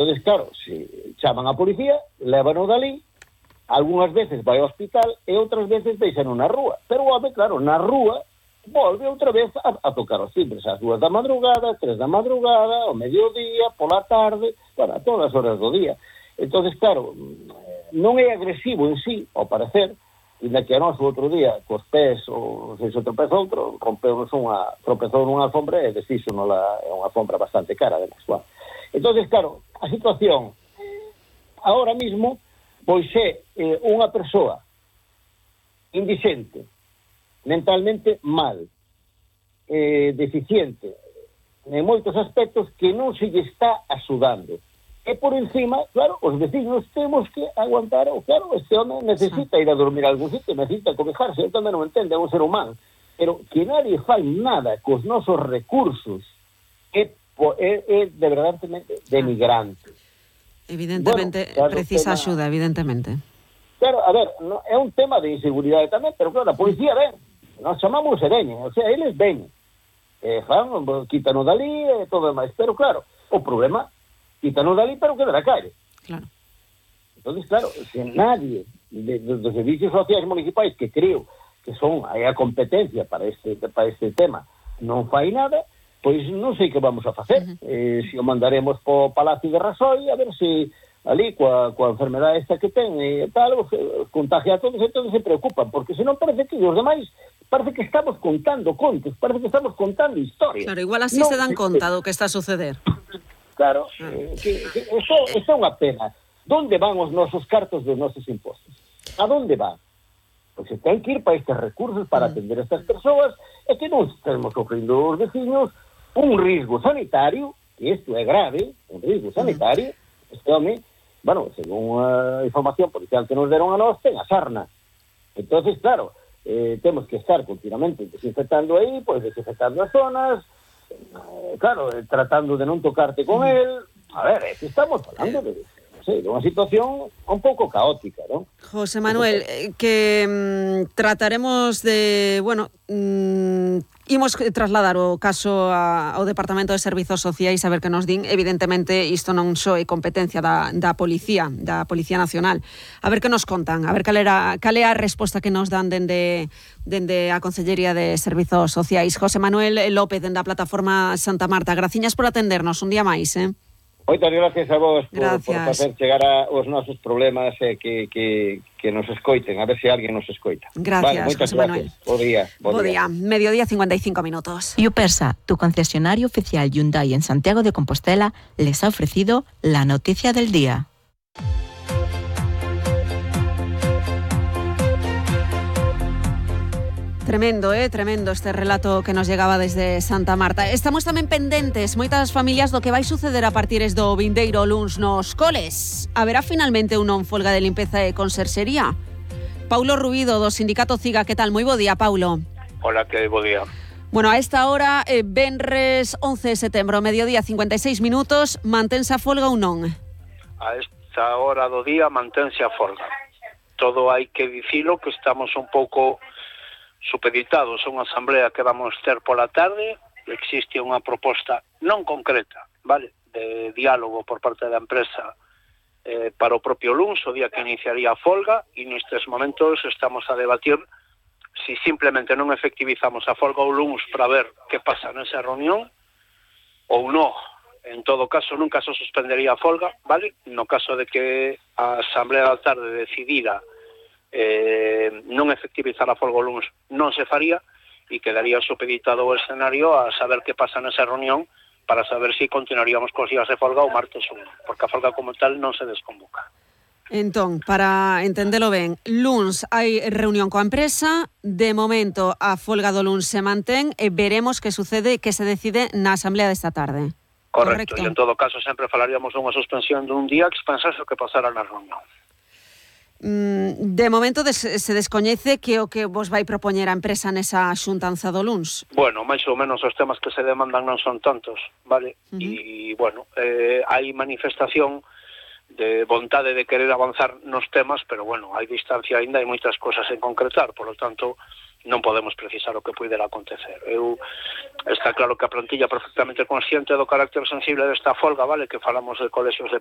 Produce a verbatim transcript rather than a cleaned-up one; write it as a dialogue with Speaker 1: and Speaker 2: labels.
Speaker 1: Entón, claro, se chaman a policía, lévano dali, algunhas veces vai ao hospital e outras veces deixan na rúa. Pero o home, claro, na rúa volve outra vez a, a tocar os timbres ás dúas da madrugada, tres da madrugada, ao mediodía, pola tarde, bueno, a todas as horas do día. Entón, claro, non é agresivo en sí, ao parecer, inda que a nós o outro día, cos pés, ou se se tropeza outro, rompeunos unha, tropezou nunha alfombra e desfixo nola, é unha alfombra bastante cara, además. Bueno. Entón, claro, a situación, ahora mismo, pois é eh, unha persoa indixente, mentalmente mal, eh, deficiente, en moitos aspectos que non se lle está axudando. E por encima, claro, os vecinos temos que aguantar, o claro, este home necesita ir a dormir a algún sitio, necesita cobijarse, eu tamén non entendo, é un ser humano, pero que nadie fai nada cos nosos recursos é, é, é de verdadeiramente denigrante.
Speaker 2: Evidentemente, bueno, claro, precisa tema, axuda, evidentemente.
Speaker 1: Claro, a ver, no, é un tema de inseguridade tamén, pero claro, a policía ven, nos chamamos e veñen, o sea, eles ven, eh, fan, quítanos dali e todo demais, pero claro, o problema quítanos dali, pero que de la calle.
Speaker 2: Claro.
Speaker 1: Entonces, claro, se nadie de, de, dos servicios sociais municipais, que creo que son aí a competencia para este, para este tema, non fai nada, pois non sei que vamos a facer. Uh-huh. Eh, se o mandaremos po Palacio de Rasoy, a ver se ali, coa, coa enfermedade esta que ten e tal, os, os contagia a todos, e todos se preocupan, porque senón parece que os demais, parece que estamos contando contos, parece que estamos contando historias.
Speaker 2: Claro, igual así no, se dan conta do que está a suceder.
Speaker 1: Claro, eh, que, que eso, eso é unha pena. Donde van os nosos cartos dos nosos impostos? A donde van? Pois se ten que ir para estes recursos para atender a estas persoas e que non estamos sofrendo os vecinos un risco sanitario, que isto é grave, un risco sanitario, este home, bueno, según a información policial que nos deron a nós, ten a sarna. Entonces, claro, eh, temos que estar continuamente desinfectando aí, pois desinfectando as zonas, eh, claro, eh, tratando de non tocarte con el. A ver, é que estamos falando de, non sei, de unha situación un pouco caótica, non?
Speaker 2: José Manuel, eh, que mm, trataremos de, bueno, mm, imos trasladar o caso a, ao Departamento de Servizos Sociais a ver que nos din. Evidentemente, isto non só é competencia da, da Policía, da Policía Nacional. A ver que nos contan, a ver cal, era, cal é a resposta que nos dan dende, dende a Consellería de Servizos Sociais. José Manuel López, dende a Plataforma Santa Marta. Graciñas por atendernos un día máis, eh?
Speaker 1: Moitas gracias a vos por, por facer chegar a, os nosos problemas e eh, que, que, que nos escoiten, a ver se alguén nos escoita.
Speaker 2: Gracias,
Speaker 1: vale,
Speaker 2: José Manuel.
Speaker 1: Bo día. Bo
Speaker 2: bo
Speaker 1: día.
Speaker 2: día. Mediodía, cincuenta y cinco minutos.
Speaker 3: Yupersa, tu concesionario oficial Hyundai en Santiago de Compostela, les ha ofrecido la noticia del día.
Speaker 2: Tremendo, eh, tremendo este relato que nos llegaba desde Santa Marta. Estamos tamén pendentes, moitas familias, do que vai suceder a partir do vindeiro luns nos coles. Haberá finalmente unha folga de limpeza e conserxería? Paulo Rubido, do Sindicato CIGA, que tal? Moi bo día, Paulo.
Speaker 4: Hola, que bo día.
Speaker 2: Bueno, a esta hora, eh, venres once de setembro, mediodía, cincuenta y seis minutos, mantense a folga ou non?
Speaker 4: A esta hora do día mantense a folga. Todo hai que dicilo que estamos un pouco supeditados a unha asamblea que vamos ter pola tarde. Existe unha proposta non concreta, vale, de diálogo por parte da empresa eh, para o propio luns, o día que iniciaría a folga, e nestes momentos estamos a debatir si simplemente non efectivizamos a folga o luns para ver que pasa nesa reunión ou non. En todo caso, nunca se suspendería a folga, vale? No caso de que a asamblea da tarde decidira Eh, non efectivizar a folga o luns, non se faría e quedaría supeditado o escenario a saber que pasa nesa reunión para saber se si continuaríamos cos días de folga o martes uno, porque a folga como tal non se desconvoca.
Speaker 2: Entón, para entendelo ben, luns hai reunión coa empresa, de momento a folga do luns se mantén e veremos que sucede, que se decide na asamblea desta tarde.
Speaker 4: Correcto,
Speaker 2: Correcto.
Speaker 4: E en todo caso sempre falaríamos dunha suspensión dun día que pensase o que pasara na reunión.
Speaker 2: De momento des, se descoñece que o que vos vai propoñer a empresa nesa xuntanza do luns.
Speaker 4: Bueno, máis ou menos os temas que se demandan non son tantos, vale? Uh-huh. E, bueno, eh, hai manifestación de vontade de querer avanzar nos temas, pero, bueno, hai distancia aínda, hai moitas cosas en concretar, por lo tanto, non podemos precisar o que puidera acontecer. Eu, está claro que a plantilla perfectamente consciente do carácter sensible desta folga, vale, que falamos de colexios de primaria,